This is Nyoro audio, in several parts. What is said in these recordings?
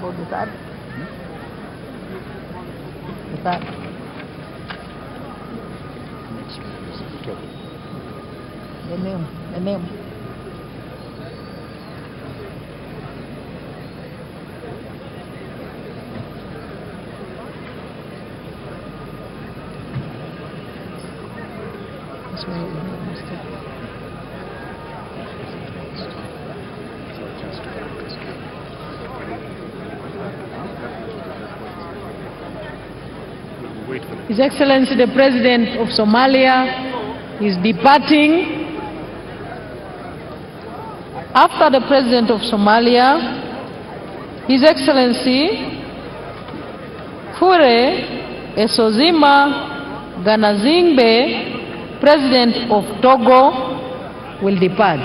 For the third? The third. Next one is Togo. The name. The name. That's why we made a mistake. So just we'll wait for the His Excellency the President of Somalia is departing. After the President of Somalia, His Excellency Faure Essozimna Gnassingbé, President of Togo, will depart.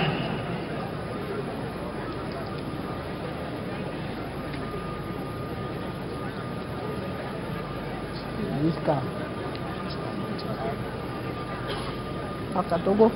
This car. After Togo.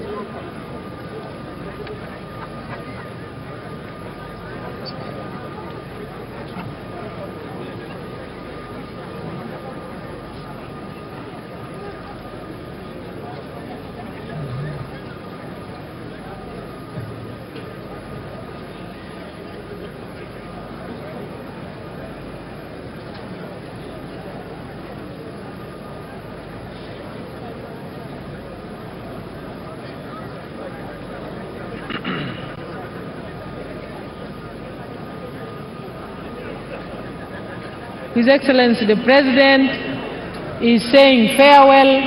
His Excellency the President is saying farewell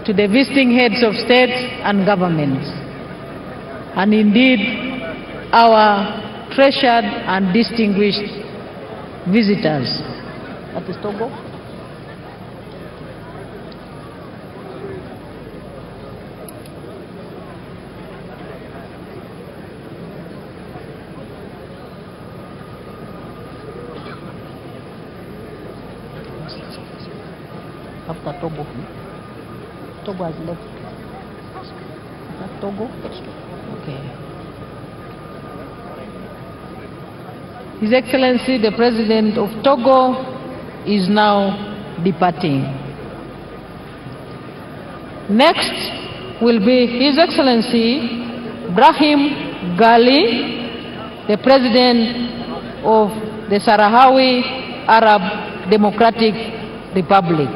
to the visiting heads of state and governments, and indeed our treasured and distinguished visitors. That is Togo. After Togo. Togo has left. Is that Togo? That's Togo. Okay. His Excellency the President of Togo is now departing. Next will be His Excellency Brahim Ghali, the President of the Sahrawi Arab Democratic Republic.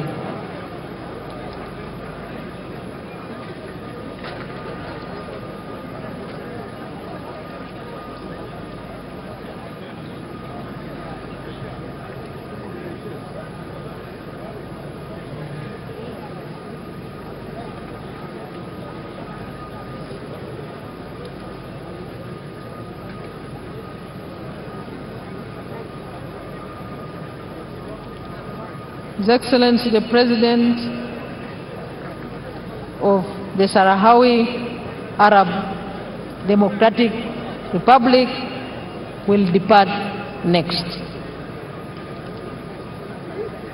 His Excellency the President of the Sahrawi Arab Democratic Republic will depart next.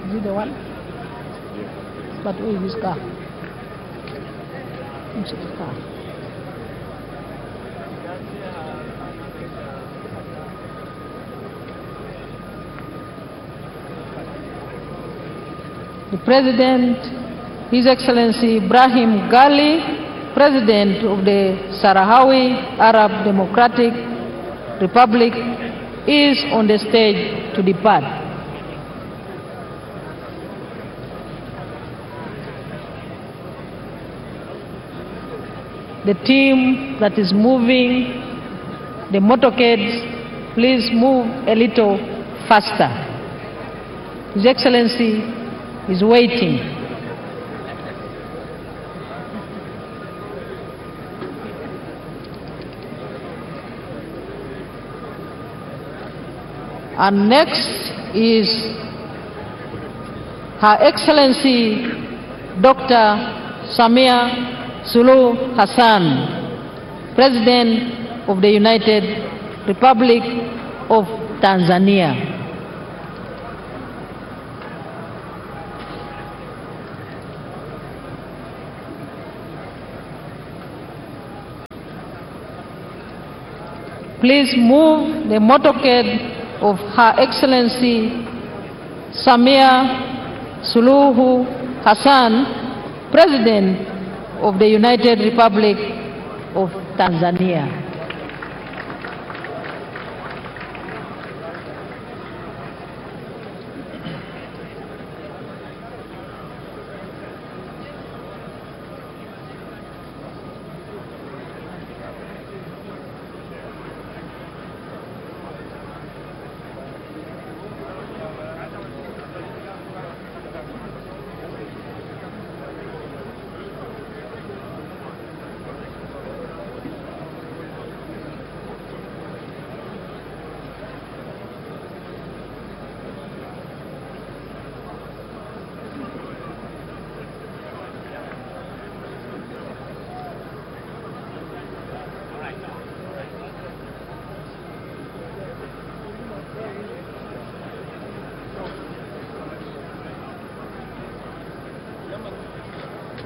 Is it the one? Yeah. But where is this car? Where's the car? The President, His Excellency Ibrahim Ghali, President of the Sahrawi Arab Democratic Republic, is on the stage to depart. The team that is moving the motorcades, please move a little faster. His Excellency is waiting. And next is Her Excellency Dr. Samia Suluhu Hassan, President of the United Republic of Tanzania. Please move the motorcade of Her Excellency Samia Suluhu Hassan, President of the United Republic of Tanzania.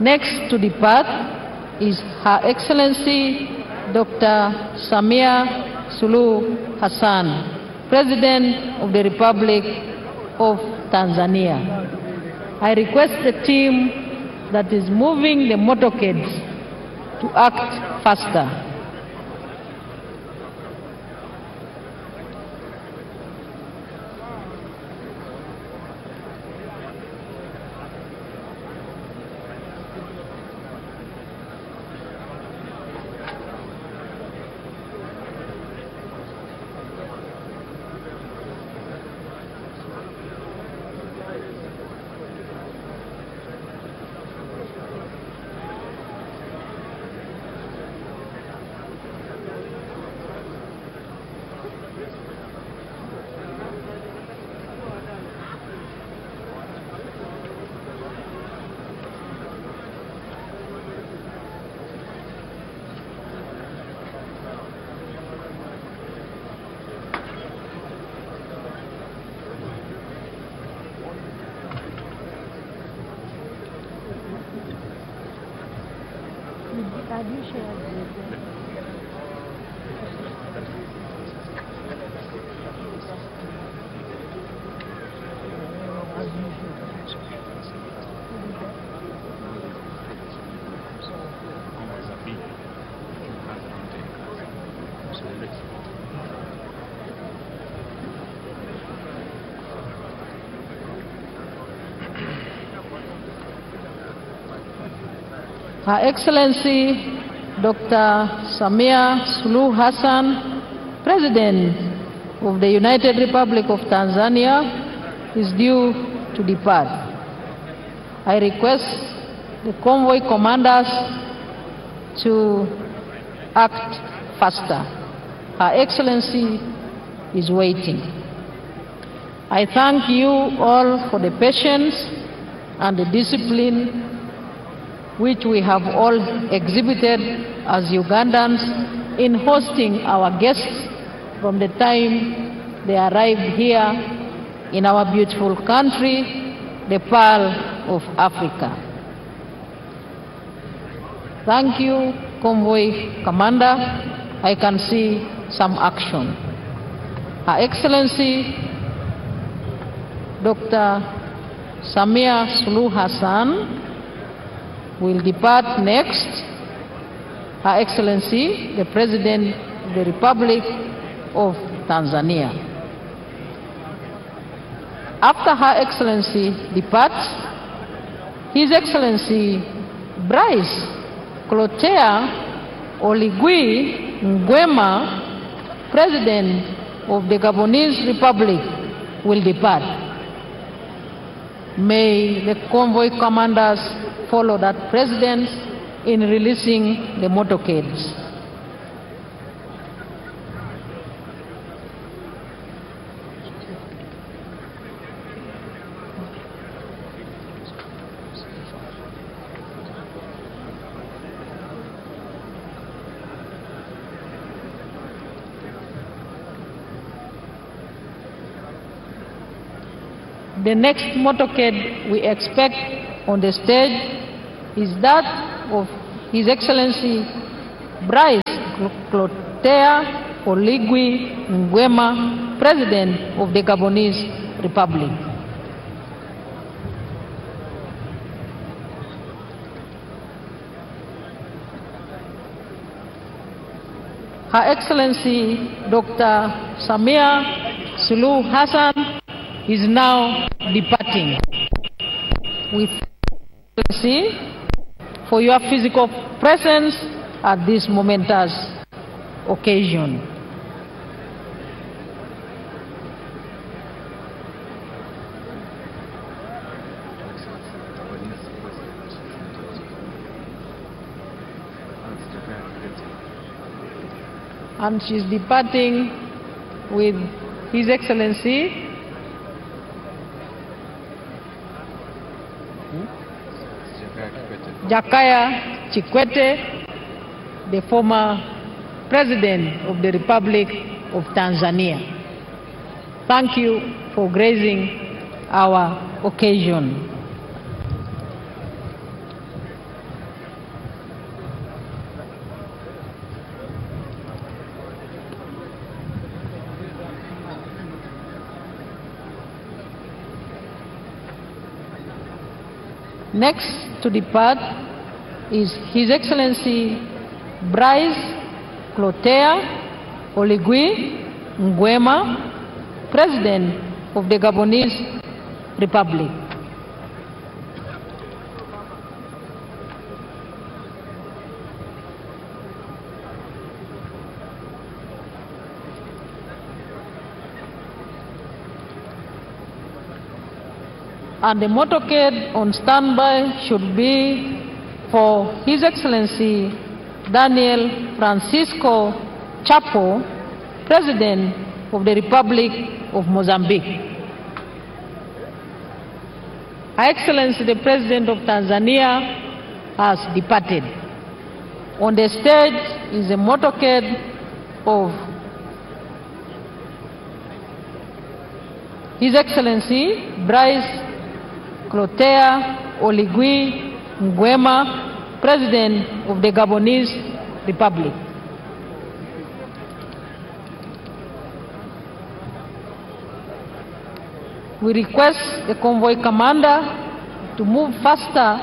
Next to depart is Her Excellency Dr. Samia Suluhu Hassan, President of the Republic of Tanzania. I request the team that is moving the motorcades to act faster. Have you shared with them? Convoys are big. Few cars around 10 cars. So let's Her Excellency Dr. Samia Suluhu Hassan, President of the United Republic of Tanzania, is due to depart. I request the convoy commanders to act faster. Her Excellency is waiting. I thank you all for the patience and the discipline which we have all exhibited as Ugandans in hosting our guests from the time they arrived here in our beautiful country, the Pearl of Africa. Thank you, Convoy Commander. I can see some action. Her Excellency, Dr. Samia Suluhu Hassan, will depart next. Her Excellency, the President of the Republic of Tanzania. After Her Excellency departs, His Excellency Brice Clotaire Oligui Nguema, President of the Gabonese Republic, will depart. May the convoy commanders follow that president in releasing the motorcades. The next motorcade we expect on the stage is that of His Excellency Brice Clotaire Oligui Nguema, President of the Gabonese Republic. Her Excellency Dr. Samia Suluhu Hassan is now departing. We thank you for your physical presence at this momentous occasion. And she's departing with His Excellency Jakaya Kikwete, the former President of the Republic of Tanzania. Thank you for gracing our occasion. Next to depart is His Excellency Brice Clotaire Oligui Nguema, President of the Gabonese Republic. And the motorcade on standby should be for His Excellency Daniel Francisco Chapo, President of the Republic of Mozambique. Her Excellency the President of Tanzania has departed. On the stage is a motorcade of His Excellency Brice Clotaire Oligui Nguema, President of the Gabonese Republic. We request the convoy commander to move faster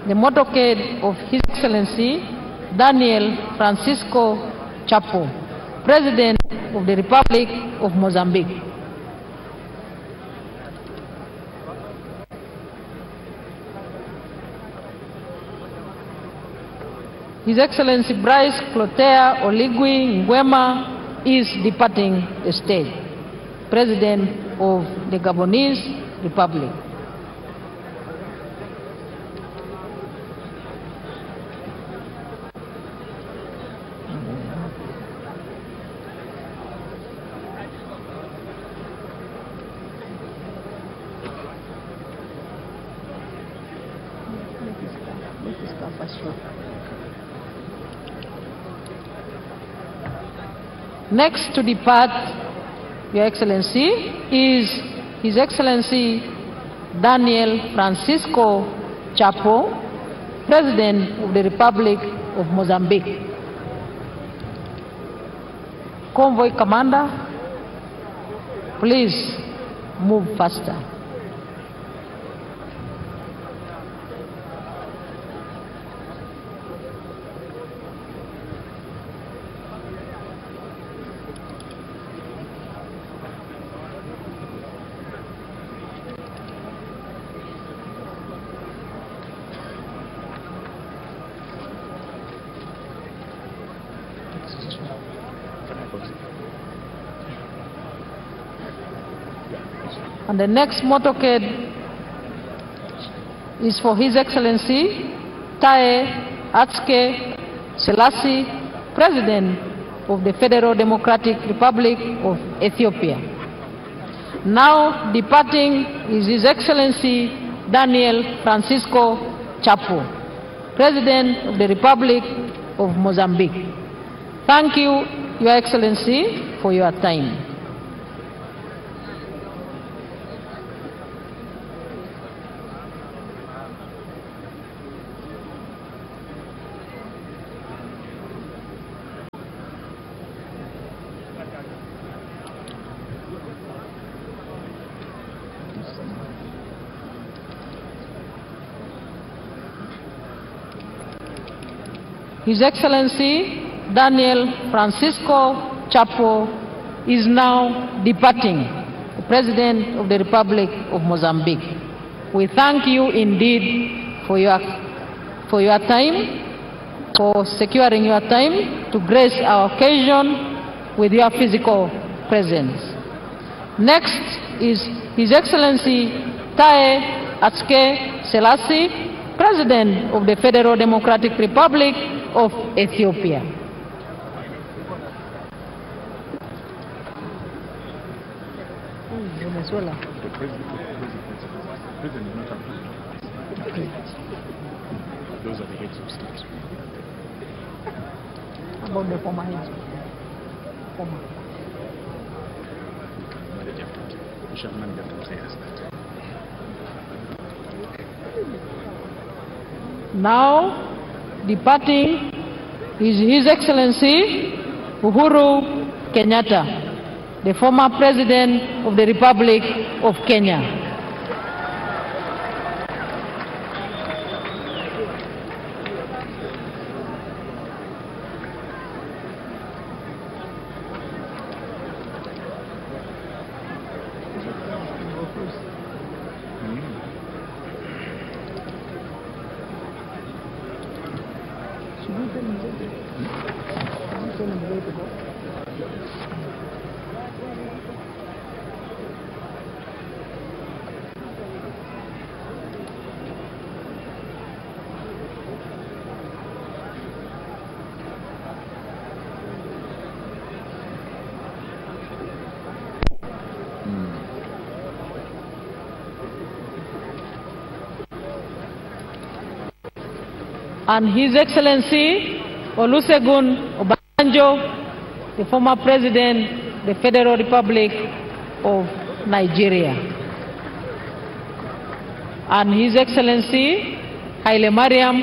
the motorcade of His Excellency Daniel Francisco Chapo, President of the Republic of Mozambique. His Excellency Brice Clotaire Oligui Nguema is departing the stage, President of the Gabonese Republic. Next to depart, Your Excellency, is His Excellency Daniel Francisco Chapo, President of the Republic of Mozambique. Convoy Commander, please move faster. And the next motorcade is for His Excellency Taye Atske Selassie, President of the Federal Democratic Republic of Ethiopia. Now departing is His Excellency Daniel Francisco Chapo, President of the Republic of Mozambique. Thank you, Your Excellency, for your time. His Excellency Daniel Francisco Chapo is now departing, the President of the Republic of Mozambique. We thank you indeed for your time, for securing your time to grace our occasion with your physical presence. Next is His Excellency Taye Atske Selassie, President of the Federal Democratic Republic of Ethiopia. Venezuela. The president did not have to. Those are the heads of states. About the former heads. Former. We can manage after. We shall manage after clears that. Now, departing is His Excellency Uhuru Kenyatta, the former President of the Republic of Kenya. And His Excellency Olusegun Obasanjo, the former President of the Federal Republic of Nigeria. And His Excellency Haile Mariam,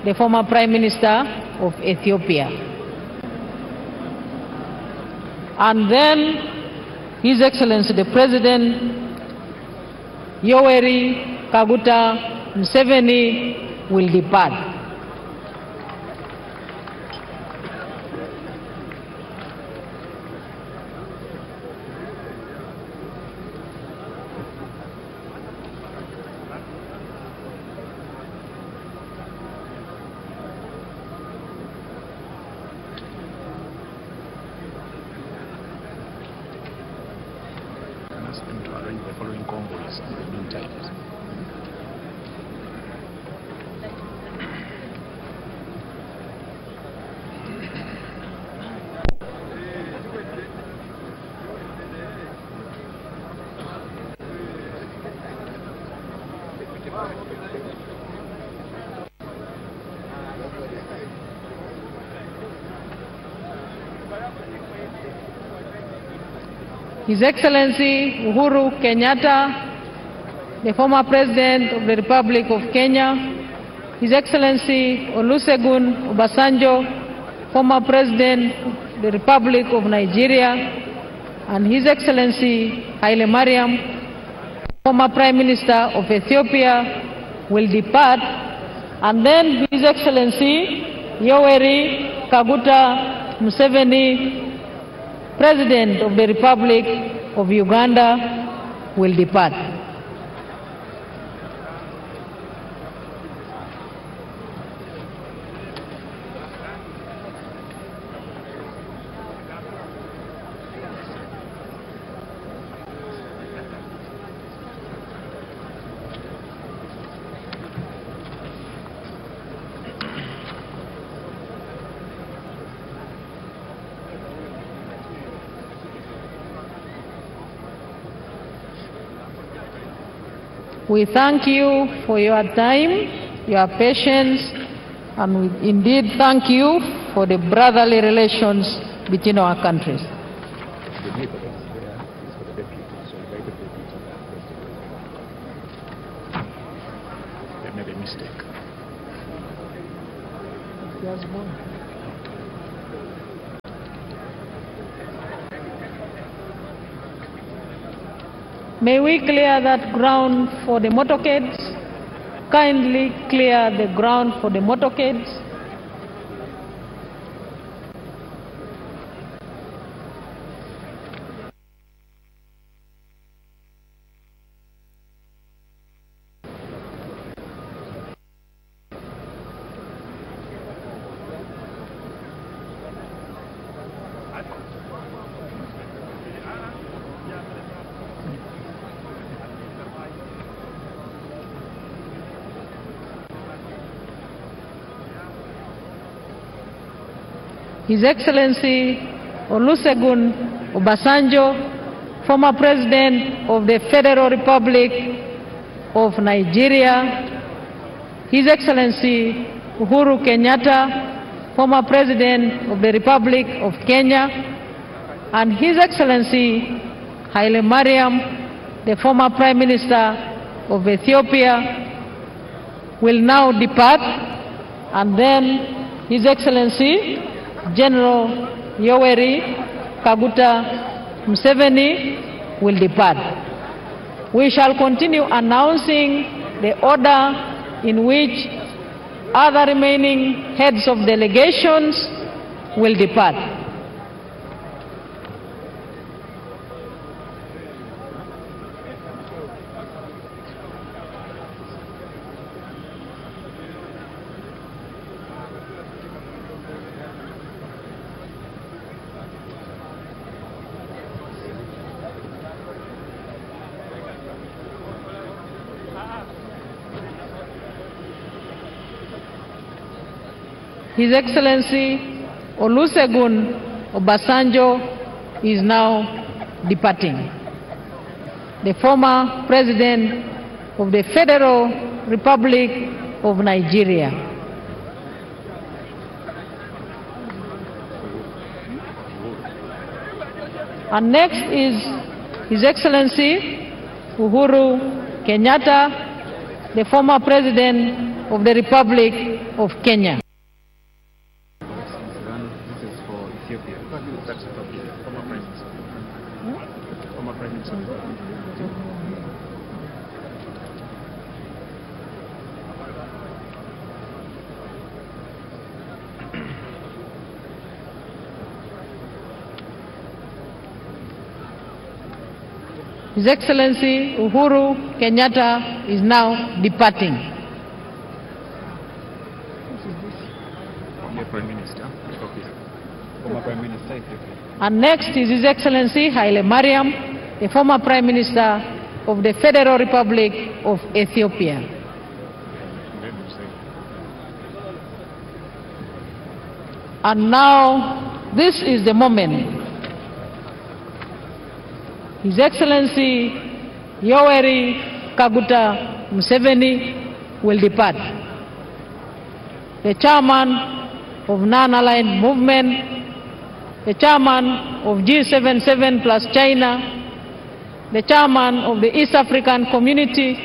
the former Prime Minister of Ethiopia. And then His Excellency the President Yoweri Kaguta Museveni will depart. Can ask them to arrange the following convoys in the meantime. His Excellency Uhuru Kenyatta, the former President of the Republic of Kenya, His Excellency Olusegun Obasanjo, former President of the Republic of Nigeria, and His Excellency Haile Mariam, former Prime Minister of Ethiopia, will depart, and then His Excellency Yoweri Kaguta Museveni, President of the Republic of Uganda, will depart. We thank you for your time, your patience, and we indeed thank you for the brotherly relations between our countries. The neighbor that's there is for the deputy, so invite the deputy and the president. They made a mistake. May we clear that ground for the motorcades? Kindly clear the ground for the motorcades. His Excellency Olusegun Obasanjo, former President of the Federal Republic of Nigeria, His Excellency Uhuru Kenyatta, former President of the Republic of Kenya, and His Excellency Haile Mariam, the former Prime Minister of Ethiopia, will now depart, and then His Excellency General Yoweri Kaguta Museveni will depart. We shall continue announcing the order in which other remaining heads of delegations will depart. His Excellency Olusegun Obasanjo is now departing. The former President of the Federal Republic of Nigeria. And next is His Excellency Uhuru Kenyatta, the former President of the Republic of Kenya. This is for Ethiopia. That's Ethiopia. Former Prime Minister. Former Prime Minister. His Excellency Uhuru Kenyatta is now departing. Former Prime Minister, Ethiopia. Former Prime Minister, Ethiopia. And next is His Excellency Haile Mariam, the former Prime Minister of the Federal Republic of Ethiopia. And now, this is the moment. His Excellency Yoweri Kaguta Museveni will depart. The chairman of Non-Aligned Movement, the chairman of G77 plus China, the chairman of the East African Community,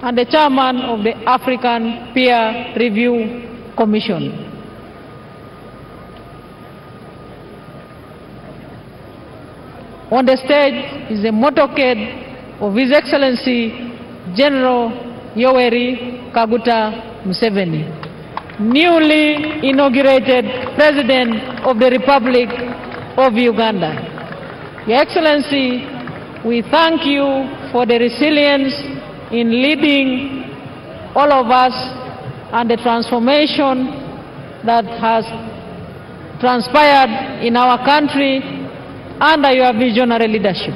and the chairman of the African Peer Review Commission. On the stage is the motorcade of His Excellency General Yoweri Kaguta Museveni, newly inaugurated President of the Republic of Uganda. Your Excellency, we thank you for the resilience in leading all of us and the transformation that has transpired in our country under your visionary leadership.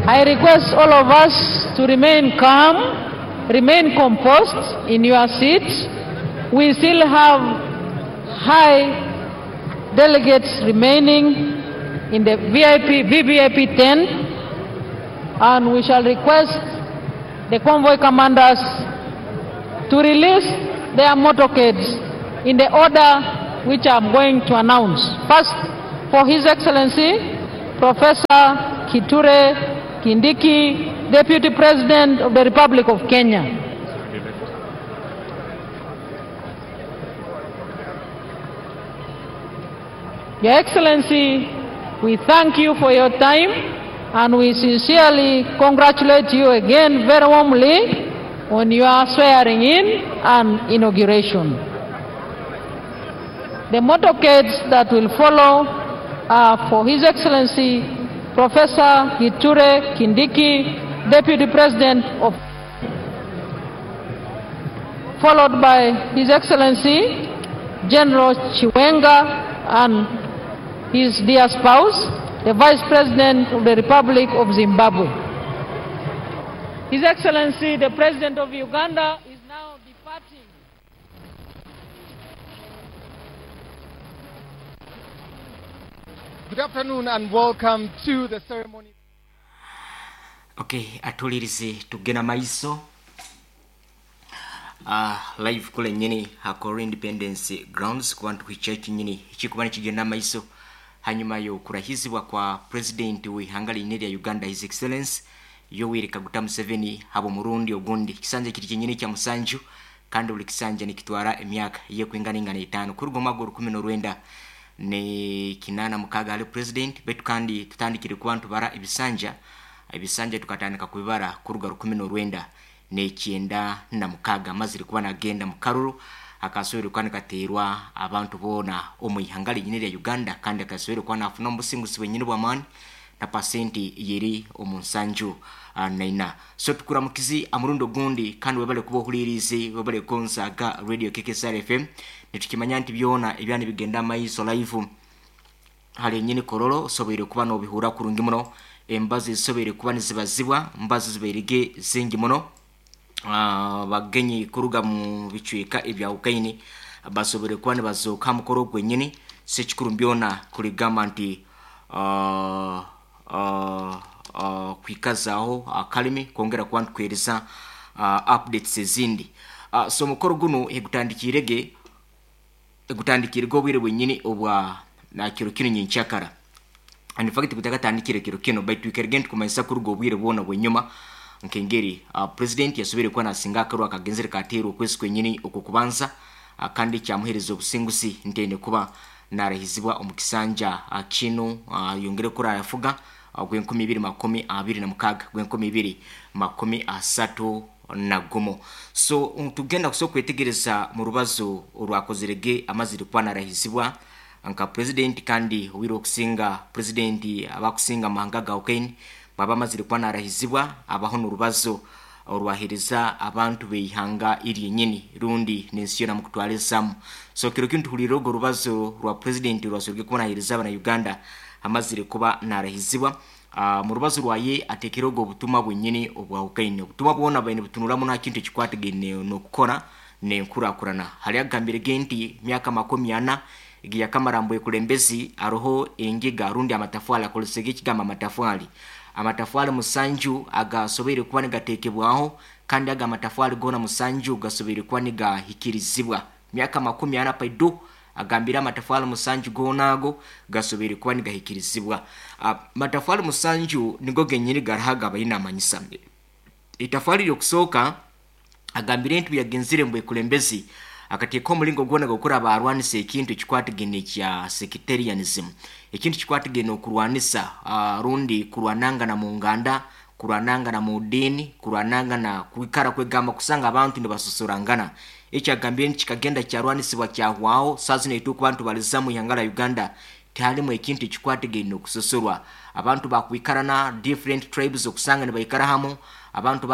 I request all of us to remain calm, remain composed in your seats. We still have high delegates remaining in the VIP, VVIP tent, and we shall request the convoy commanders to release their motorcades in the order which I am going to announce. First, for His Excellency, Professor Kithure Kindiki, Deputy President of the Republic of Kenya. Your Excellency, we thank you for your time, and we sincerely congratulate you again very warmly on your swearing in and inauguration. The motorcades that will follow are for His Excellency Professor Kithure Kindiki, Deputy President of, followed by His Excellency General Chiwenga and his dear spouse, the Vice President of the Republic of Zimbabwe. His Excellency, the President of Uganda, is now departing. Good afternoon and welcome to the ceremony. Okay, atulirize tugenda maiso live kule nyini hakoro Independence Grounds kuba ntuhikya kinyini ekikuba nikigenda maiso hanyuma y'okurahizibwa kwa president w'ihanga linene lya Uganda, His Excellence Yoweri Kaguta Museveni, habo murundi ogundi kisanja kiri kinyini kya musanju, kandi buli kisanja nikitwara emyaka yekwinganingana 5 kuruga omwaka 1986 ali president. Betu kandi tutandikire kuba ntubara ebisanja tukatandika kubibara kuruga 1996 mazire kuba nagenda mukaruru akasoboire kuba nikateerwa abantu boona omu ihanga linyini lya Uganda, kandi akasoboire kuba nafuna omubusinguzi bwenyini bw'amaani na pasenti yeri omu 74. So tukuramukizi amurundi ogundi, kandi webale kuba ohulirize, webale konsaga Radio KKSR FM. Nitukimanya nti byona ebyani bigenda maiso live hali nyini Kololo osoboire kuba n'obihura kurungi muno. Embazi zisoboire kuba nizibazibwa, mbazi zibairige zingi muno. Bagenyi kuruga mu bicweka ebya Ukaini basoboire kuba nibazooka mukoro gwenyini. Sekikuru byona kuligamba nti kwikazaho akalimi kwongera kuba ntukwereza updates ezindi. So mukoro guno egutandikirege obwire bwenyini obwa na kiro kino nyenkyakara. And in fact kutakatandikire kiro kino baitu ikerege ntukumanyisa kuruga obwire bwona bwenyuma nkengeri president yasobire kuba nasinga akaru akagenzere kateerwa okwezi kwenyini okukubanza, kandi kyamuhereza obusinguzi ntende kuba narahizibwa omu kisanja kino yongere kura yafuga gw'2026 gw'2031. So tugenda kusobola kwetegereza mu rubazo orwakozerege amazire kuba narahizibwa nka president, kandi owire okusinga president abakusinga amahanga ga Ukraine baba amazire kuba narahizibwa abaho n'urubazo orwahereza abantu beihanga iryenyini rundi n'ensi yona mukutwalizamu. So kiro kintu tuhulire orwo rubazo rwa president rwasobwe kuba nahereza abana Uganda amazire kuba narahizibwa. Mu rubazo rwaye atekere ogwo obutumwa bwenyini obwa Ukraine, obutumwa bwona baine butunuramu nta kintu ekikwatagaine n'okukora n'enkurakurana. Hali agambire ge nti myaka 40 egiyakamarambo ekulembezi aroho engiga rundi amatafwali akolesege ekigamba amatafwali 7 agasoboire kuba nigateekebwaho, kandi aga amatafwali gona 7 gasoboire kuba nigahikirizibwa. Myaka 40 paidu agambira amatafwali 7 gona ago gasoboire kuba nigahikirizibwa. Matafwali 7 nigo genyini garahaga bayinamanyisa. Itafwali lyokusooka agambire nti yagenzire mbwe kulembezi akateeka omulingo gwona gukora abarwanisa ekintu ekikwatagene kya sectarianism, ekintu kikwatagene okurwanisa rundi kurwanangana mu nganda, kurwanangana mu dini, kurwanangana kwikara kwegamba kusanga abantu nibasosorangana. Ekyagambire nti kikagenda kyarwanisibwa kyahwaho. Saa zino ituuka abantu baliza mu ihanga lya Uganda tihalimu ekintu ekikwatagene okusosorwa. Abantu bakwikarana different tribes okusanga nibaikara hamu, abantu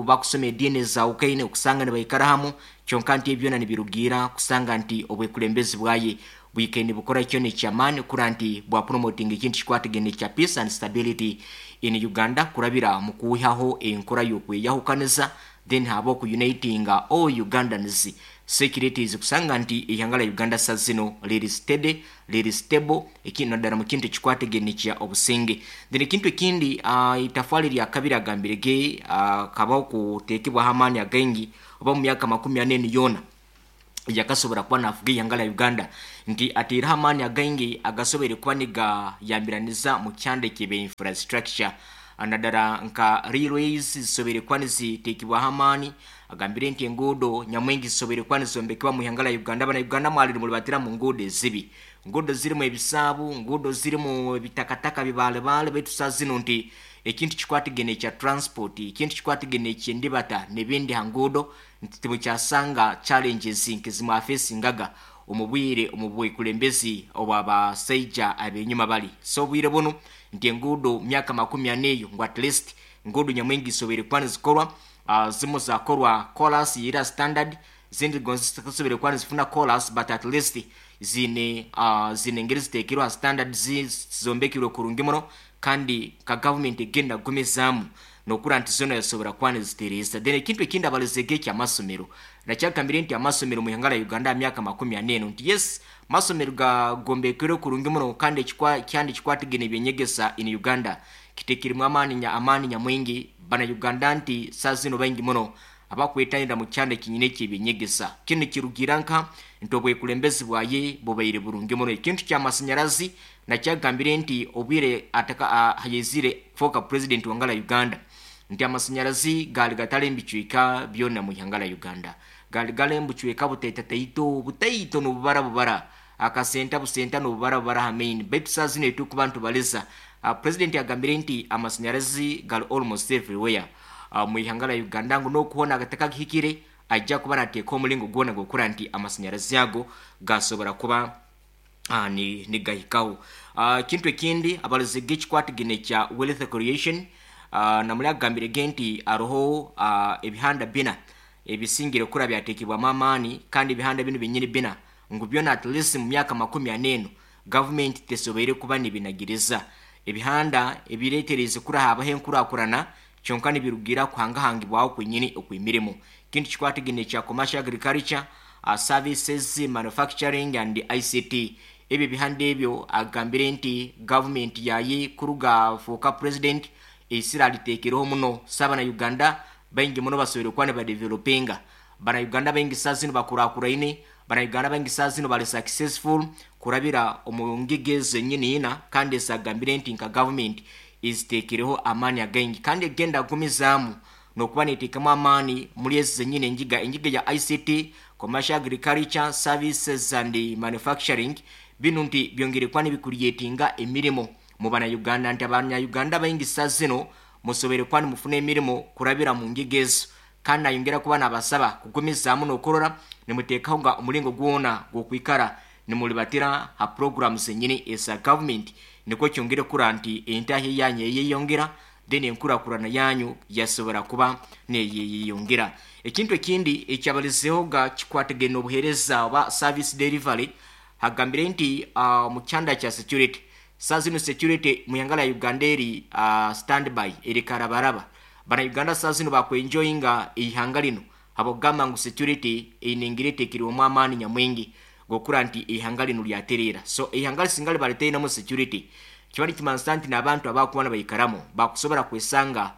bakusoma ediini za Ukraine okusanga nibaikara hamu, kyonka nti ebyona nibirugira kusanga nti obwekulembezi bwaye bwike nibukora kyona ekyamaani kura nti bwa promoting ekintu kikwatagene kya peace and stability in Uganda kurabira mu kuwihaho enkora y'okweyahukaniza, then haba okunitinga all Ugandans securities kusanga nti ihanga lya Uganda saa zino liri steady, liri stable, ekintu naddala mu kintu ekikwatagene kya obusinge. Then ekintu ekindi itafwali lya kabiri agambire ge kabaho kuteekebwaho amaani againgi oba mu myaka 40 yona yakasobora kuba nafuga ihanga lya Uganda, nti ateereho amaani againgi agasoboire kuba nigayambiraniza mu kyanda ekyebe infrastructure naddala nka railways zisoboire kuba niziteekebwaho amaani. Agambire nti enguudo nyamwingi zisoboire kuba nizombekebwa mu ihanga lya Uganda. Abana Uganda mwalire mulibatira mu nguudo ezibi, nguudo zirimu ebisaabu, nguudo zirimu ebitakataka bibaalebaale, baitu saa zino nti ekintu kikwatagene ekya transport, ekintu kikwatagene ekyendibata n'ebindi ha nguudo nti timukyasanga challenges nk'ezimwafesingaga omu bwire omu bwekulembezi obw'abasaija ab'enyuma bali. So obwire buno nti enguudo myaka 40 eyo ngu at least nguudo nyamwingi zisoboire kuba nizikorwa, zimu zakorwa chorus yira standard, zindi gonzi zisoboire kuba nizifuna chorus, but at least Zine zine engeri ziteekirwe ha standards, zombekirwe kurungi muno, kandi ka gavumenti egenda kugumizaamu nokura nti zona yasobora kuba nizitereeza. Then ekintu ekindi abalizege ekyamasomero, nakyagambire nti amasomero mu ihanga lya Uganda ha myaka 40 eno nti yes, masomero gagombekerwe kurungi muno, kandi kyandi kikwatagene ebyenyegesa in Uganda kitekiremu amaani nyamwingi bana Uganda, nti saa zino baingi muno abakwetanira mu kyanda kinyine ekyeby'enyegesa. Kinu kirugira nka nti obwekulembezi bwaye bubaire burungi muno. Ekintu kyamasanyarazi nakyagambire nti obwire ataka hayezire kufoka president wangala Uganda, nti amasanyarazi gali gatali mbicweka byona mu ihanga lya Uganda, gali gali mbucweka butaitataito butaito nobubara bubara akasenta busenta nobubara bubara ha main, baitu saa zino etukuba ntubaliza president agambire nti amasanyarazi gali almost everywhere mu ihanga lya Uganda, ngu nokuhona agataka gihikire ajja kuba nateeka omulingo gwona gwokura nti amasanyarazi ago gasobora kuba nigahikaho. Kintu ekindi abalizege ekikwatagene kya wealth creation, namuli agambire ge nti aroho ebihanda bina ebisingire kura byatekebwamu amaani, kandi ebihanda bino binyini bina ngu byona at least mu myaka 40 eno gavumenti tesoboire kuba nibinagiriza ebihanda ebireetereze kura habaho enkurakurana, kyonka nibirugira kuhangahangibwaho kwenyini okw'emirimo. Kintu kikwatagene kya commercial agriculture, services, manufacturing and ICT. Ebyo bihanda ebyo agambire nti gavumenti yaye kuruga fuuka president esira aliteekereho muno saba na Uganda baingi muno basoboire kuba nibadevelopinga. Bana Uganda baingi saa zino bakurakuraine, bana Uganda baingi saa zino bali successful kurabira omu ngigi ezo nyini ina, kandi esagambire nti nka gavumenti eziteekereho amaani againgi kandi egenda kugumizaamu nokuba neteekamu amaani muri ezi zenyini engiga ya ICT, commercial agriculture, services and manufacturing. Binu nti byongere kuba nibikuriyetinga emirimo mu bana Uganda, nti abanya Uganda baingi saa zino musobere kuba nimufuna emirimo kurabira mu ngiga ezo, kandi nayongera kuba nabasaba kugumizaamu nokurora nimuteekaho nga omulingo gwona gwokwikara nimulibatira ha programs zenyini eza government, nikwo kyongere kura nti entahi yanyu eyeyongera, then enkurakurana yanyu yasobora kuba neyeyongera. Ekintu ekindi ekyabalizeho ga kikwatagene obuheereza oba service delivery, hagambire nti mu kyanda kya security saa zino security mu ihanga lya Uganda eri standby, eri karabaraba. Bana Uganda saa zino bakwenjoyinga ihanga lino habwokugamba ngu security einengire eteekirwemu amaani nyamwingi gokura nti ihanga lino lyatereera. So ihanga lisinga liba litainamu security kiba nikimanisa nti n'abantu abakuba nibaikaramu bakusobora kwesanga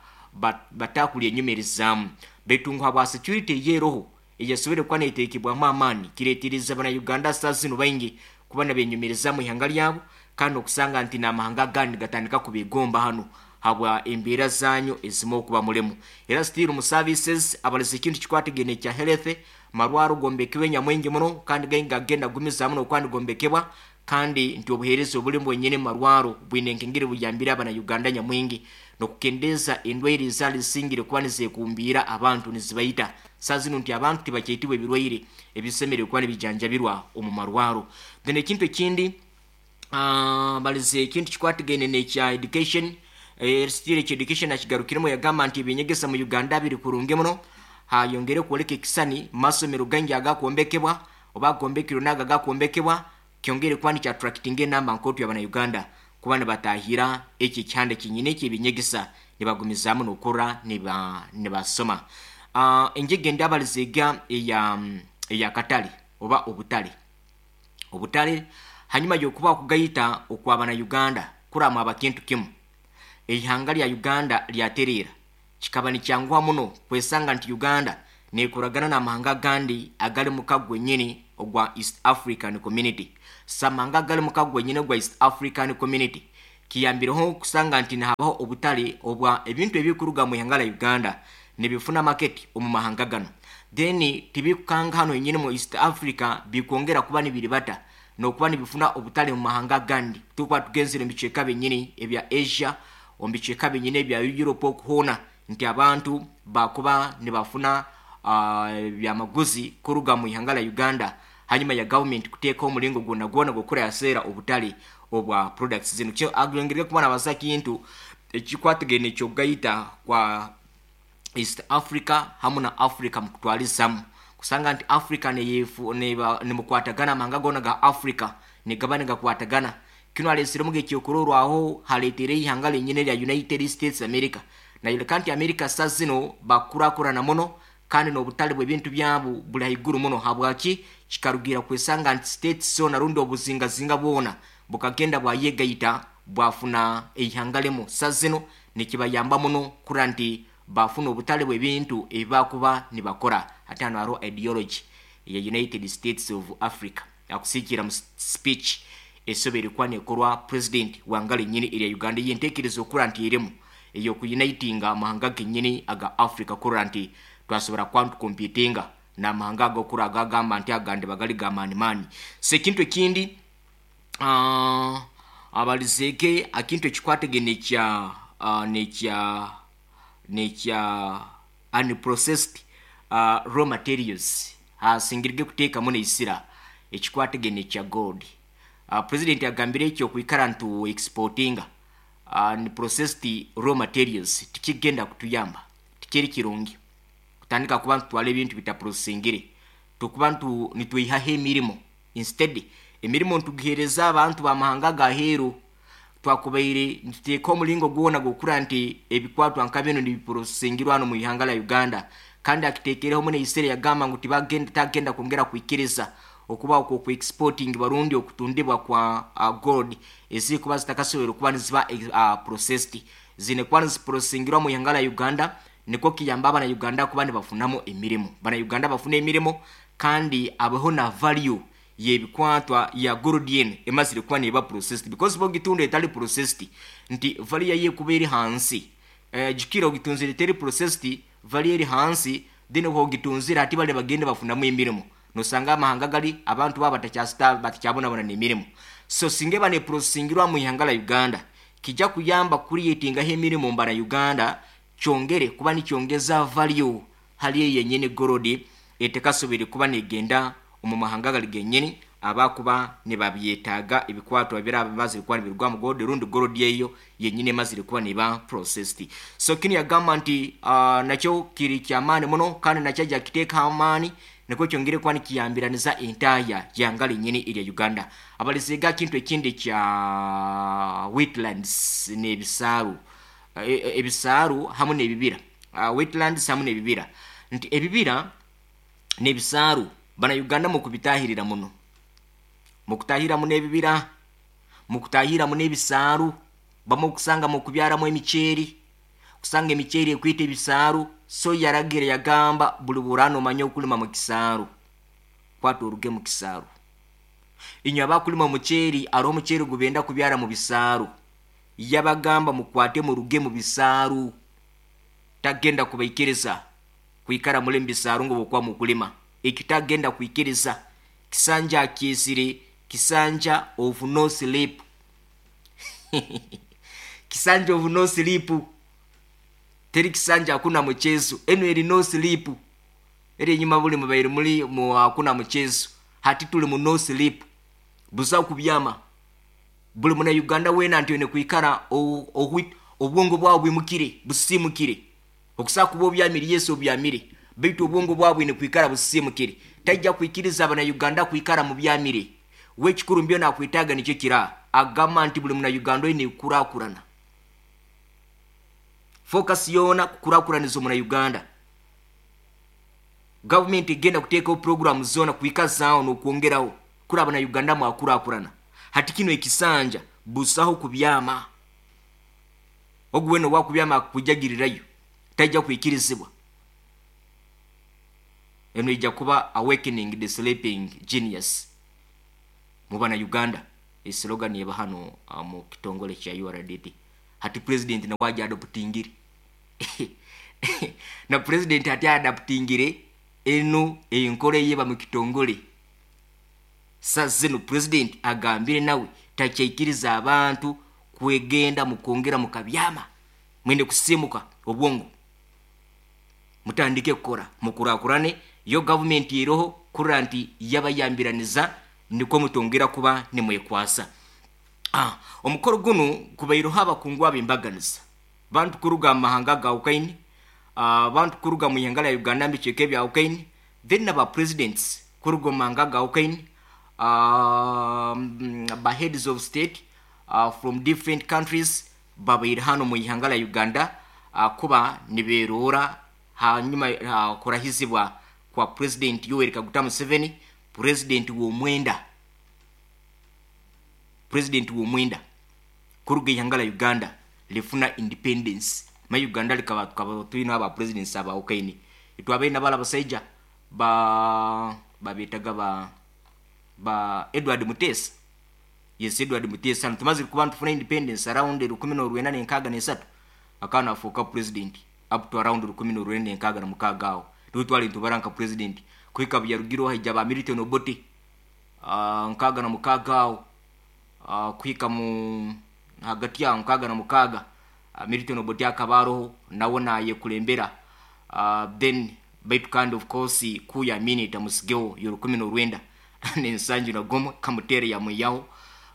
batakulya enyumirizaamu, baitu ngu habwa security eyeroho eyasobore kuba neeteekebwamu amaani kireetereza bana Uganda saa zino baingi kuba nibenyumirizamu ihanga lyabo, kandi okusanga nti n'amahanga agandi gatandika kubegomba hano habwa embeera zanyu ezimu okuba mulemu. Era still mu services abaliza ekintu kikwatagene kya health, marwaro gombekebwe nyamwingi muno kandi gaingi gagenda gumizaamu nokuba nigombekebwa, kandi nti obuheereza obulimu bwenyini marwaro bwine enkengeri buyambire abana Uganda nyamwingi nokukendeeza endwaire ezaali zisingire kuba nizekumbiira abantu nizibaita. Saa zino nti abantu tibakyaitibwa ebirwaire ebisemereire kuba nibijanjabirwa omu marwaro. Then ekintu ekindi balize ekintu kikwatagene nekya education, still ekya education akigarukiremu yagamba nti ebyenyegesa mu Uganda biri kurungi muno, hayongere kwoleka ekisani masomero gaingi agakwombekebwa oba agombekirwe nago agakwombekebwa, kyongere kuba nikya attractinga enamba nkootu y'abana Uganda kuba nibatahira eki ekyanda kinyine ekyebinyegesa nibagumizaamu nokura nibasoma. Enjega endi abalizega eya katale oba obutale. Obutale hanyuma y'okuba okugaita okw'abana Uganda kuramu aba kintu kimu, ihanga lya Uganda lyatereera kikaba nikyanguha muno kwesanga nti Uganda nekuragana n'amahanga agandi agali muka gwenyini ogwa East African Community. Samanga agali muka gwenyini ogwa East African Community kiyambireho kusanga nti nahabaho obutale obwa ebintu ebikuruga mu ihanga lya Uganda nibifuna market omu mahanga gano, then tibikukanga hano yenyini mu East Africa bikwongera kuba nibiribata nokuba nibifuna obutale mu mahanga agandi. Tukuba tugenzere mu bicweka byenyini ebya Asia, omu bicweka byenyini ebya Europe okuhoona nti abantu bakuba nibafuna byamaguzi kuruga mu ihanga lya Uganda hanyuma ya government kuteeka omulingo gwona gwona gwokura yaseera obutale obwa products zino. Kyo agongere kuba nabaza kintu ekikwatagene ekyokugaita kwa East Africa hamu na Africa mukutwalizamu. Kusanga nti Africa neyefu neba nimukwatagana, amahanga gona ga Africa nigaba nigakwatagana. Kino alesiremu ekyokurorwaho haletere ihanga lenyine lya United States America. Nayoleka nti America sa zino bakurakurana muno kandi n'obutale bw'ebintu byabo buli haiguru muno. Habwaki? Kikarugira kwesanga nti states zona rundi obuzingazinga bwona bukagenda bwayegaita bwafuna eihanga limu. Sa zino nikibayamba muno kura nti bafuna obutale bw'ebintu ebibakuba nibakora. Ate hano hariho ideology ya United States of Africa akusiikira mu speech esobere kuba nekorwa president wanga lenyini erya Uganda. Yentekereza okura nti erimu ey'okuyunitinga amahanga genyini aga Africa kurora nti twasobora kuba ntukompitinga n'amahanga agokura agagamba nti agandi bagali gamaani maani. So ekintu ekindi abalizege akintu ekikwatagene nekya nekya nekya unprocessed raw materials asingirige kuteekamu neisira ekikwatagene kya gold. President agambire ekyo okwikara ntu exportinga unprocessed raw materials tikigenda kutuyamba, tikiri kirungi kutandika kuba ntutwala ebintu bitaprocessingire, tukuba ntu nitwihaho emirimo. Instead emirimo ntugihereza abantu bamahanga gaheru. Twakubaire nituteeka omulingo gwona gukura nti ebikwatwa nka bino nibiprocessingirwa hano mu ihanga la Uganda. Kandi akiteekereho muno eisere yagamba ngu tibagenda tagenda kwongera kwikiriza okuba okwo ku exporting barundi okutundibwa kwa gold ezikuba zitakasobora kuba niziba processed, zine kuba niziprocessingirwa mu ihanga la Uganda. Niko kiyamba abana Uganda kuba nibafunamu emirimo, bana Uganda bafuna emirimo kandi abeho na value yebikwatwa ya gold eno emazire kuba neba processed, because bogitunda etali processed nti value yayo ekuba eri hansi. Jukira ogitunzire eteri processed, value eri hansi, then ogitunzire ati bale bagende bafunamu emirimo, nosanga amahanga gali abantu baba batakyabonabona n'emirimo. So singa eba neprocessingirwa mu ihanga la Uganda kijja kuyamba creatingaho emirimo mbana Uganda, kyongere kuba nikyongeza value hali eyo yenyini gold etekasobere kuba negenda omu mahanga gali genyini abakuba nibabyetaaga ebikwatwa biraba bimazire kuba nibirugwa mu gold rundi gold eyo yenyini emazire kuba niba processed. So kino yagamba nti nakyo kiri kyamaani muno kandi nakyo ajja kiteeka amaani nikwo kyongere kuba nikiyambiraniza entaya yanga lenyini erya Uganda. Abalizega kintu ekindi kya wetlands n'ebisaaru, ebisaaru hamu n'ebibira, wetlands hamu n'ebibira, nti ebibira n'ebisaaru bana Uganda mukubitahirira muno, mukutahira muno ebibira, mukutahira muno ebisaaru, bamwe okusanga mukubyaramu emiceeri, kusanga emiceeri ekwita ebisaaru. So yaragira yagamba buli burano omanye okulima mu kisaaru kwata oruge mu kisaaru. Inywe abakulima omuceeri, hariho omuceeri gubenda kubyara mu bisaaru, yabagamba mukwate muruge mu bisaaru. Tagenda kubaikiriza kwikara muli mu bisaaru ngo bwokuba mukulima ekyo, tagenda kwikiriza. Kisanja akyesire kisanja of no sleep kisanja of no sleep, teri kisanja hakuna mchezo, eno eri no sleep. Eri enyuma buli mubaire muli mu hakuna mchezo, hati tuli mu no sleep, buza kubyama. Buli muna Uganda wena nti one kwikara obwongo bwawe bwimukire busimukire, okusa kuba obyamire Yesu obyamire, baitu obwongo bwawe ne kwikara busimukire. Tajja kwikiriza abana Uganda kwikara mu byamire. Wekikuru mbyo nakwitaga nikyo kira agamba nti buli muna Uganda oyine kukurakurana, focus yona kukurakuraniza omuna Uganda. Gavumenti egenda kuteekaho program zona kwikazaawo n'okwongeraho kuraba na Uganda mwakurakurana. Hati kino ekisanja busaho kubyama, ogu wena owakubyama akujagirirayo tajja kwikirizibwa. Eno ijja kuba awakening the sleeping genius mu bana Uganda, eslogan eba hano mu kitongole kya URDT. Hati president nawe aja adoptingire na president ati adaptingire eno enkola eyeba mu kitongole. Sa zino president agambire nawe takyaikiriza abantu kwegenda mukwongera mukabyama, mwende kusimuka obwongo mutandike kukora mukurakurane. Yo gavumenti eroho kurora nti yabayambiraniza nikwo mutongera kuba nimwekwasa. Omukoro guno kubaireho abakungu ab'embaganiza, bantu kuruga mu mahanga ga Ukaini, bantu kuruga mu ihanga lya Uganda mu bicweka ebya Ukaini, Then na ba presidents kuruga omu mahanga agahukahine, ba heads of state from different countries babaire hanu mu ihanga lya Uganda kuba niberoora hanyuma kurahizibwa kwa President Yoweri Kaguta Museveni, president w'omwenda, president w'omwenda kuruga ihanga lya Uganda lifuna independence. Ma Uganda likaba tukaba tulina aba presidents abahukahine, itwabaire nabala abasaija ba babetaga ba Edward Mutesa. Yes, Edward Mutesa tumazire kuba tufuna independence around 1963, akana afuuka president up to around 1966 aho niwe twali nitubara nka president. Kuhika byarugireho haija ba Milton Obote 66 aho, kuhika mu hagati aho 66, Milton Obote akaba aroho nawe nayekulembera. Then baitu kandi of course kuya Amini tamusigeho yo 1971 kamutere yamwiyaho.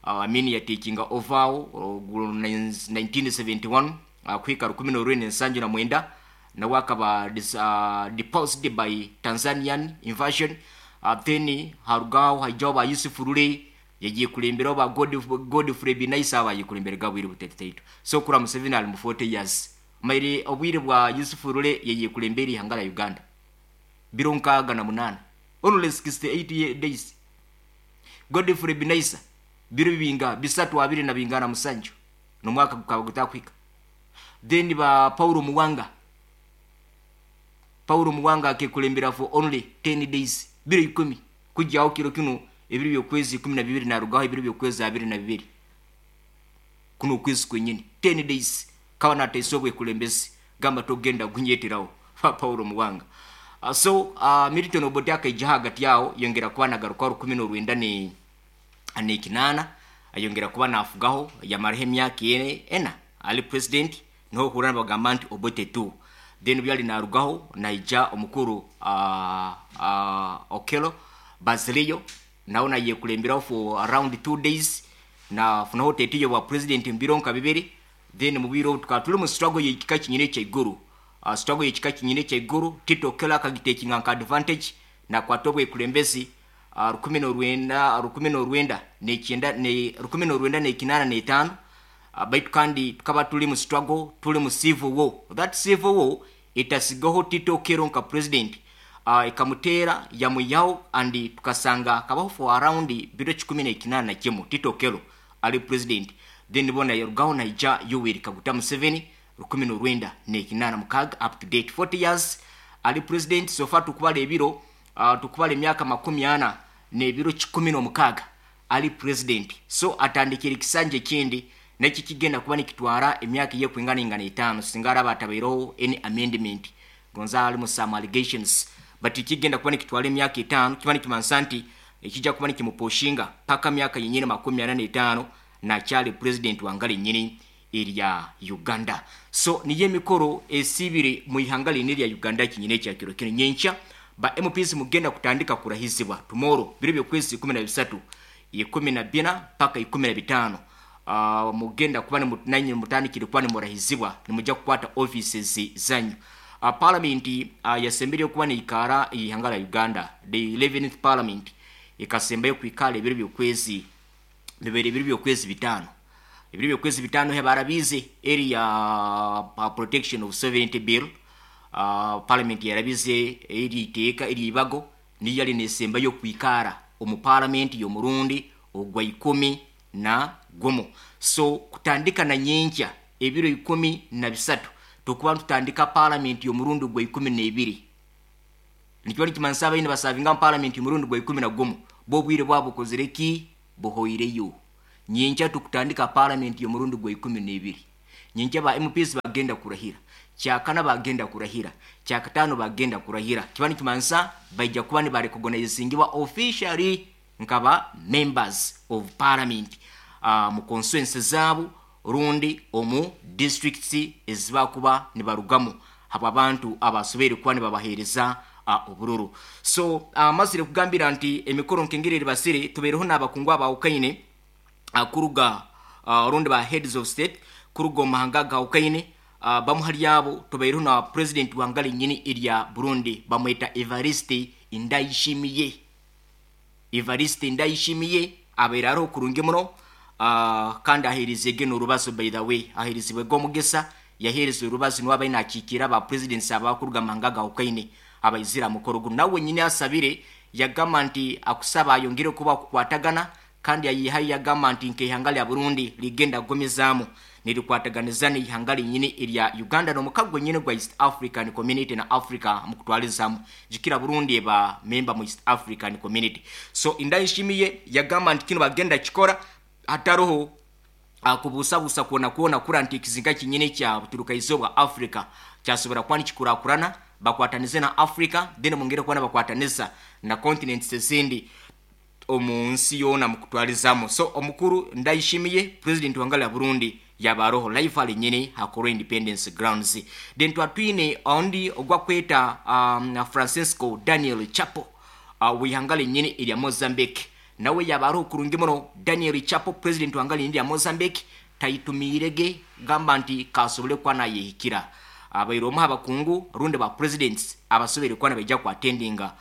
Amini yatekinga over aho 1971 kuhika 1979, nawe akaba deposed by Tanzanian invasion. Then harugaho haijaho ba Yusuf Rule yagiye kulemberaho ba Godfrey Binaisa abayikulembera gabwire buteteitu. So kura Museveni ali mu 40 years maire obwire bwa Yusuf Rule yagiye kulembera ihanga la Uganda biro 68, only 68 days. Godfrey Binaisa biro binga bisatu abiri na bingana musanju nomwaka gukaba gutakwika. Then ba Paulo Muwanga, Paulo Muwanga akekulembera for only 10 days, biro 10 kujyaho kiro kino ebiro byokwezi 12 narugaho ebiro byokwezi 22 kuno kwezi kwenyini 10 days kawa nataisobwe kulembezi gamba togenda gunyeteraho fa Paulo Muwanga. So Milton Obote akaija hagati yao yongera kuba nagaruka 1998, ayongera kuba nafugaho yamaraho emyaka ena ali president, niho hura bagamba nti Obote 2. Then byali narugaho naija omukuru Okello Bazilio nawe nayekulemberaho for around 2 days na funaho tetiyo bwa president mbiro nka bibiri. Then mubiro tukaba tuli mu struggle y'ekika kinyine ekyaiguru, struggle y'ekika kinyine ekyaiguru Tito Okello akagitekinga nka advantage nakwata obwekulembezi 1995. Baitu kandi tukaba tuli mu struggle, tuli mu civil war. That civil war itasigaho Tito Okello nka president, ikamutera yamuyaho and tukasanga kabaho for around biro 181 Tito Okello ali president. Then bona yarugaho naija Yoweri Kaguta Museveni 1986 up to date 40 years ali president. So far tukubala ebiro, tukubala emyaka 40 n'ebiro 16 ali president. So atandikira ekisanja ekindi neki kigenda kuba nikitwara emyaka yekwingana ingana 5 singa araba atabaireho any amendment gonza ali mu some allegations, but kigenda kuba nikitwara emyaka 5 kiba nikimansa nti ekijja kuba nikimuposhinga paka myaka yenyini 45 nakyali president wangala enyini erya Uganda. So niyo emikoro esibire mu ihanga lini erya Uganda kinyine ekyakiro kino. Nyenkya ba MPs mugenda kutandika kurahizibwa tomorrow biro byokwezi 13 14 paka 15. Mugenda kuba nanyi mutandikire kuba nimurahizibwa nimujja kukwata offices zanyu. Parliament yasembere kuba neikara ihanga la Uganda, the 11th parliament ikasembayo kwikala ebiro byokwezi bibiri ebiro byokwezi bitano, ebiro byokwezi bitano hebarabize area protection of sovereignty bill. Parliament yarabize eri iteeka eri ibago niyo yali nesembayo kwikara omu parliament y'omurundi ogwa 11. So kutandika na nyenkya ebiro 13 tukuba tutandika parliament y'omurundi gwa 12. Nikiba nikimanisa abaine basavinga mu parliament y'omurundi gwa 11 bo bwire bwabo bukozire ki buhoireyo. Nyenkya tukutandika parliament y'omurundi gwa 12. Nyenkya ba MPs bagenda kurahira, kyakana bagenda kurahira, kyakatano bagenda kurahira. Kiba nikimanisa baija kuba nibarecognizingibwa officially nkaba members of parliament mu constituency zaabo rundi omu districts ezibakuba nibarugamu abo abantu abasobeire kuba nibabaheereza obururu. So mazire kugambira nti emikoro nkengeri eribasire tubaireho n'abakungu abahukahine kuruga rundi ba heads of state kuruga omu mahanga agahukahine. Bamu hali abo tubaireho na president wangala enyini erya Burundi bamweta Evariste Ndayishimiye. Evariste Ndayishimiye abaire aroho kurungi muno, kandi aheerizege n'orubazo. By the way, aheerizibwe g'omugisa yaheereza orubazo, niwe abaire nakiikira ba presidents abakuruga mahanga gahukwaine abaizire mukoro guno. Nawe wenyini asabire yagamba nti akusaba ayongere kuba kukwatagana, kandi yayihayo yagamba nti nk'ihanga lya Burundi ligenda kugumizaamu nirikwataganiza n'ihanga linyini erya Uganda n'omukago gwenyini gwa East African Community na Africa mukutwalizamu. Jukira Burundi eba member mu East African Community. So Ndayishimiye yagamba nti kino bagenda kikora hataroho kubusabusa kuona kuona kura nti ekizinga kinyini kya buturuka izooba Africa kyasobora kuba nikikurakurana, bakwatanize na Africa, then mungere kuba bakwataniza na continents ezindi omu nsi yoona mukutwalizamu. So omukuru Ndayishimiye, president wangala ya Burundi, yabaroho live alinyini hakoro Independence Grounds. Then twatwine ondi ogwakweta Francisco Daniel Chapo, wihanga linyini erya Mozambique, nawe yabaroho kurungi muno. Daniel Chapo, president wangala linyini erya Mozambique, taitumiirege gamba nti kasobole kuba nayehikira, abaire omu abakungu rundi ba presidents abasobere kuba nabaija kuatendinga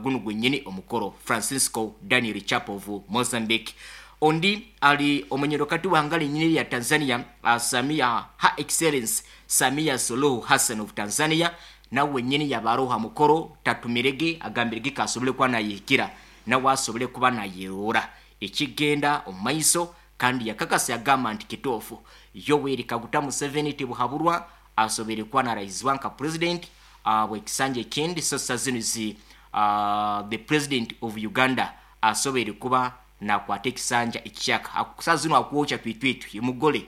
gunu gwenyini omukoro. Francisco Daniel Chapo of Mozambique. Ondi ali omunyerokati w'ihanga linyini lya Tanzania, Samia, Her Excellence Samia Suluhu Hassan of Tanzania, nawe nyini yabaroha mukoro, tatumirege agambirege kasobole kuba nayehikira, nawe asobole kuba nayerora ekigenda omu maiso, kandi yakakasa yagamba nti kituufu Yoweri Kaguta Museveni tibuhaburwa asobere kuba narahizibwa nka president bwekisanja ekindi. So zino zi the president of Uganda asobere kuba nakwata ekisanja ekikyaka saa zino akwokya twitwitwi mugole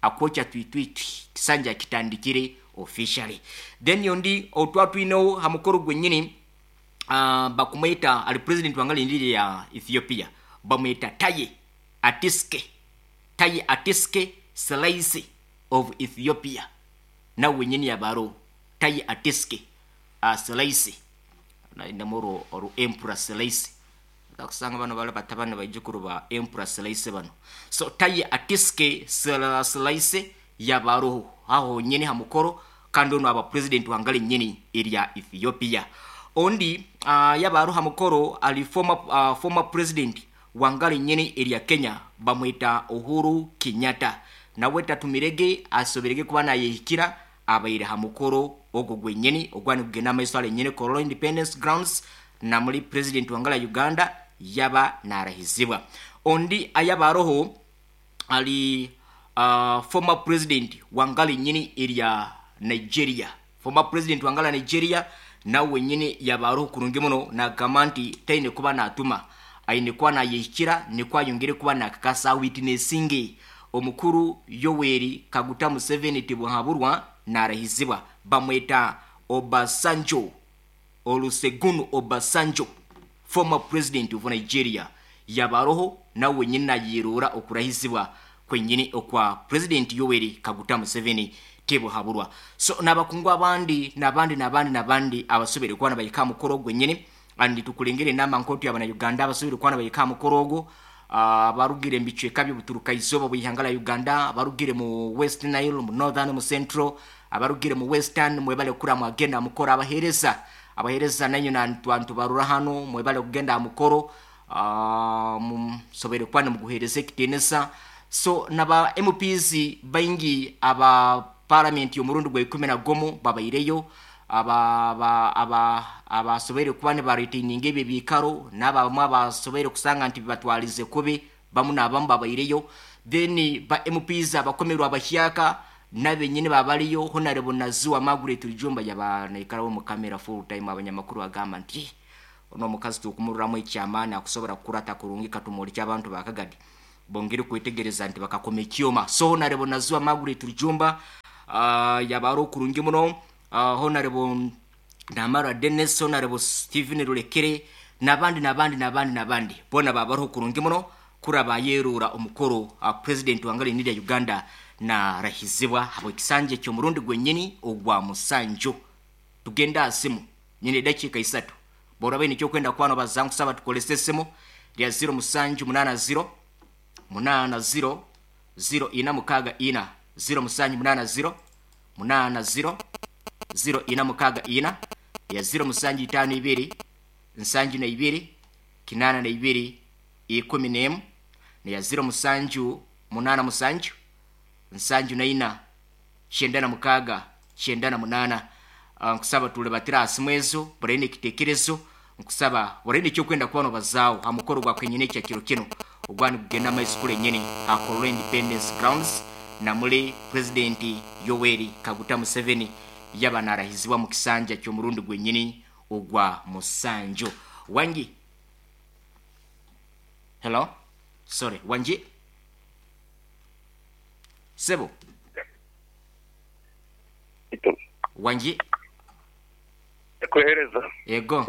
akwokya twitwitwi, kisanja kitandikire officially. Then yondi otwatwineho ha mukoro gwenyini, bakumweta ali president wanga lindiri ya Ethiopia, bamweta Taye Atiske, Taye Atiske Selassie of Ethiopia, nawe wenyini yabaro. Taye Atiske Selassie nainamoro oru Emperor Selassie, kusanga bano bala batabani baijukuru ba Emperor Selassie bano. So Taye Atiske Selassie yabaroho aho nyini ha mukoro, kandi ono aba president wangali nyini erya Ethiopia. Ondi yabaroho ha mukoro ali former president wangali nyini erya Kenya, bamwita Uhuru Kenyatta, nawe tatumirege asoberege kuba nayehikira, abaire ha mukoro ogwo gwenyini ogwani kugenda amaiso ale nyini Kololo Independence Grounds, na muri president wangala Uganda yaba narahizibwa. Ondi ayabaroho ali former president wangali nyini erya Nigeria, former president wangala Nigeria, nawe nyini yabaroho kurungi muno, nagamba nti taine kuba natuma aine kuba nayehikira, nikwo ayongere kuba nakakasa witnessinge omukuru Yoweri Kaguta Museveni tibuhaburwa narahizibwa. Bamweta Obasanjo, Olusegun Obasanjo, former president of Nigeria, yabaroho nawe nyini nayerora okurahizibwa kwenyini okwa president Yoweri Kaguta Museveni tibuhaburwa. So nabakungu abandi nabandi nabandi nabandi abasobere kuba nabayika mukoro gwenyini, andi tukulengere enama nkotu y'abana Uganda abasobere kuba nabayika mukoro ogwo, abarugire mu bicweka by'obuturuka izooba bw'ihanga lya Uganda, abarugire mu West Nile, mu Northern, mu Central, abarugire mu Western, mwebale kura mwagenda mukoro. Abahereza nanyo nantu barura hano, mwebale kugenda mukoro, musobere kuba nimuguhereza ekitiinisa. So naba MPs baingi aba parliament y'omurundi gwa 11 babaireyo, abasobere kuba nibaretaininga ebyo ebiikaro, n'abamwe abasobere kusanga nti bibatwalize kubi, bamu n'abamu babaireyo. Then ba MPs abakomerwa abahyaka nabenyini babaliyo. Honorable Naziwa Margaret Rujumba yaba naikarawo mu kamera full time, abanyamakuru bagamba nti ono omukazi tukumururamu ekyamaani akusobora kukurata kurungi, katumuli ky'abantu bakagadi bongere kwetegereza nti bakakoma ekyoma. So Honorable Naziwa Margaret Rujumba yaba ari okurungi muno, Honorable Namara Dennis, Honorable Stephen Rulekere nabandi nabandi nabandi nabandi bona babariho kurungi muno kuraba yerura omukoro president wangali nirya Uganda na rahizibwa habwe kisanje ky'omurundi gwenyini ogwa musanju. Tugenda asimu nyine dakika 3 bora bene cyo kwenda kwano bazangu saba tukolese simu lya 0780 80 0 464 0780 80 0 464. Ya 0752 72 82 11 neya 0787 74 96 98. Nkusaba tulebatira asimwezo buraine ekitekerezo, nkusaba buraine ekyokwenda kuba nobazaawo ha mukoro gwa kwenyini ekya kiro kino ogwani kugenda amaiso kule nyini ha Kololo Independence Grounds, namule President Yoweri Kaguta Museveni yaba narahizibwa mu kisanja ky'omurundi gwenyini ogwa musanju. Wangi, hello, sorry, wangi sebo. Wangi. Kuhereza. Ego.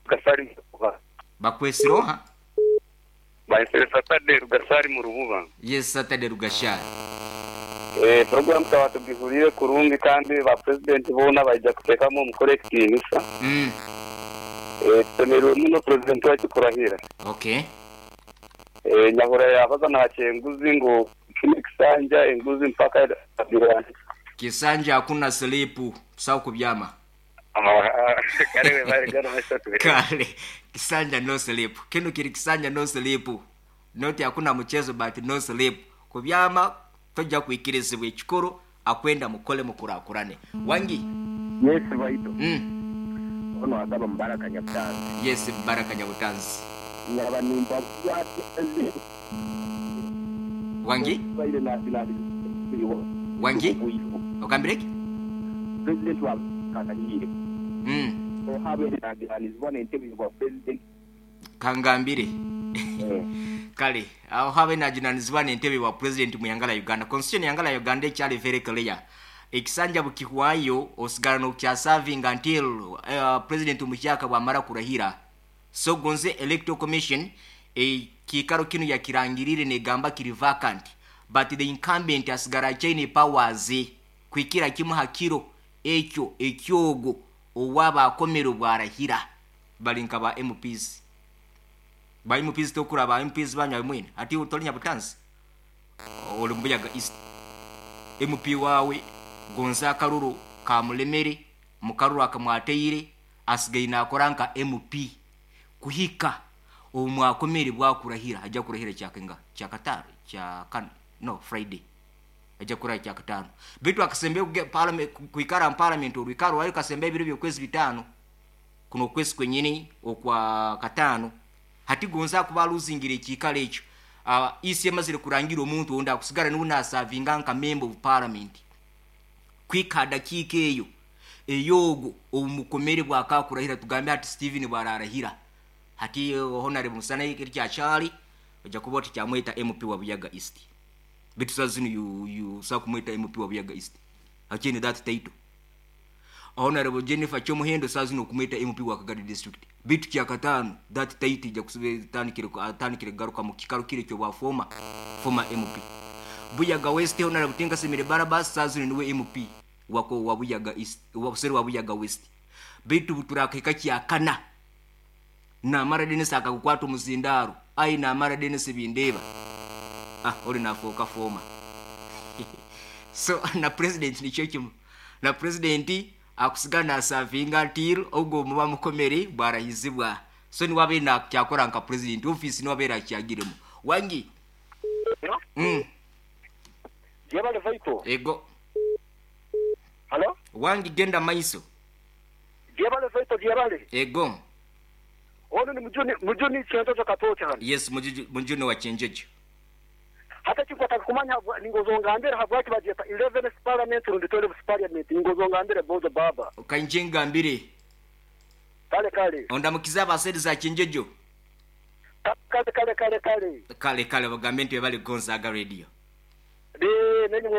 Gasari mu Rububa. Bakwesiroha? Baisere Saturday Rugasari mu Rububa. Yes, Saturday Rugashari. Program tawatugihurire kurungi kandi ba president bona baija kuteekamu omukoro ekitiinisa. Tusemererwe muno president wacu kurahira. Okay. Nyahura yabaza nakyenguzi ngu kino kisanja enguzi mpaka abirani. Kisanja hakuna slipu, sawa kubyama. Kale bari gano masatu. Kale kisanja no sleep. Kino kiri kisanja no sleep. Noti hakuna mchezo but no sleep. Kubyama tojja kuikirizibwa ekikoro akwenda mukole mukurakurane. Wangi. Yes baito. Ono agaba Mbaraka Nyabutanzi. Yes, Mbaraka Nyabutanzi. Nyaba nimba Wangi? Wangi? Okambireki? President wa Kakanyire. Ohabe nagiranizwa n'entebe wa president. Kangambire. Kale, aho habe najunanizibwa n'entebe wa president mu yangala Uganda. Constitution yangala Uganda ekyali very clear. Ekisanja bukihwayo osigala n'okya serving until president omuhyaka bwamara kurahira. So gonze electoral commission ekikaro kino yakirangirire negamba kiri vacant, but the incumbent asigara achaine powers kwikira kimu hakiro ekyo ekyogo owaba akomero bwarahira. Balinka ba MPs. Ba MPs tokura ba MPs banywa mwine ati utoli Nyabutanzi oli Mbuyaga East. MP wawe gonza akaruru kamulemere mukaruru akamwateire asigaye nakora nka MP kuhika omwakomere bwakurahira. Ajja kurahira kyakenga kyakatano kya no Friday ajja kurahira kyakatano bitu akasembe parliament kuikara parliament olwikaro wayo kasembe ebiro byokwezi bitano kuno kwezi kwenyini okwa katano hati gonza kuba luzingira ekikalo ekyo. Isi emazire kurangira omuntu onda akusigara niwe nasavinga nka member of parliament kwika dakika eyo eyogo omukomere bwakakurahira. Tugambe ati Steven bwararahira hati honorable Musana kirya Charlie ojja kuba oti kyamweta MP wa Buyaga East. Bitu sazino you sa kumweta MP wa Buyaga East akini that title. Honorable Jennifer Chomuhendo sazino kumweta MP wa Kagadi District. Bitu kya katano that title ija kusubira tanikire garuka mu kikaro kire cyo bwa former MP Buyaga West. Honorable Tinga Semire Barabas sazino niwe MP wako wa Buyaga East wa Buseri wa Buyaga West. Bitu buturakeka kya kana namara Dennis akakukwata omuzindaro ai namara Dennis bindeba ori nafoka former. So na president nikyo kimu na president akusigana asavinga until ogwo muba mukomere bwarahizibwa. So niwabe na kyakora nka president office niwabe akyagiremo. Wangi. Jebale vaito. Ego. Hello? Wangi genda maiso. Jebale vaito jebale. Ego. Ono ni mujuni chenjojo katocha hano. Yes, mujuni wa chenjojo. Hata chikwata kumanya ningozongambira habwaki bajeta 11th parliament rundi 12th parliament ningozongambira bozo baba. Kanjengambire. Kale kale. Ondamukiza abaseri za chenjojo. Kale kale kale kale. Kale kale bagambe nti bali Gonzaga radio. De nenye.